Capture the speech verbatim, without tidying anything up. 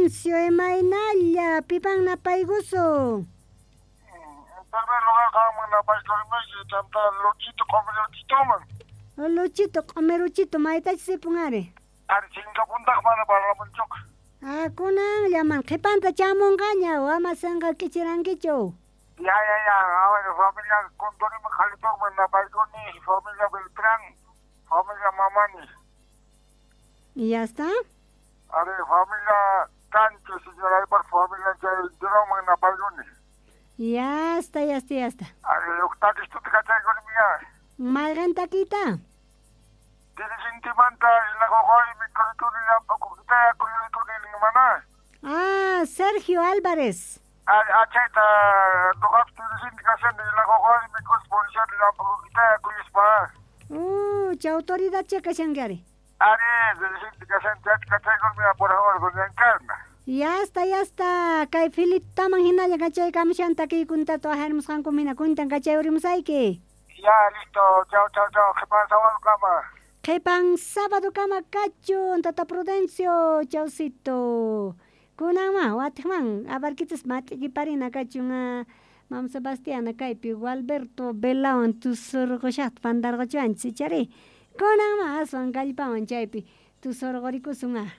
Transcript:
Prudencio, imaynalla, pipan napaykusun. En primer lugar, qanman napaykurinayki, chanta Luchito q'umiruchituman. Luchito, q'umiruchito, maytachus sipun ari. Ari chinkapuntaq mana parlamunchuqa. Ah, kunanllaman qhipanta chamunqaña, ama sinqa k'ichirankichu. Ya, ya, ya, a ver, familia Condorima Jalitoman napaykuni, familia Beltrán, familia Mamani. ¿Y ya está? Ari, familia Cancho, señora Aybar, familia Chayduroman napaykuni. Ya está, ya está, ya está. Ari, huk takistuta kachaykuni miya. Mayqin takita? Dirigentimanta ilagogoy mikurituni llamp'ukukitaya kuyurituni mana. Ah, Sergio Álvarez. Ari, achayta nuqapis dirigente kashani ilagogoy mikus policial llamp'ukukitaya kuyuspa. Uh, chay autoridad che kashanki ari. Ari, dirigente kashani chayta kachaykuni miya, por favor, doña Encarna. Ya está, ya está. Kay Filiptaman hinalla kachaykamushan takiykunata waqharimusqanku mina kuntan kachayurimusayki. Ya, listo. Chao, chao, chao. Qhipan sábado kama. Qhipan sábado kama kachun, Tata Prudencio, chaucito. Kunanman, watiqman, abarquitas mat'ikiparina kachun, ah, Mam Sebastiana kaypi Gualberto Velawan tusurqushaqta pantarquchuanchis ichari. Kunanman aswan kallpawan chaypi tusurqurikusun ah.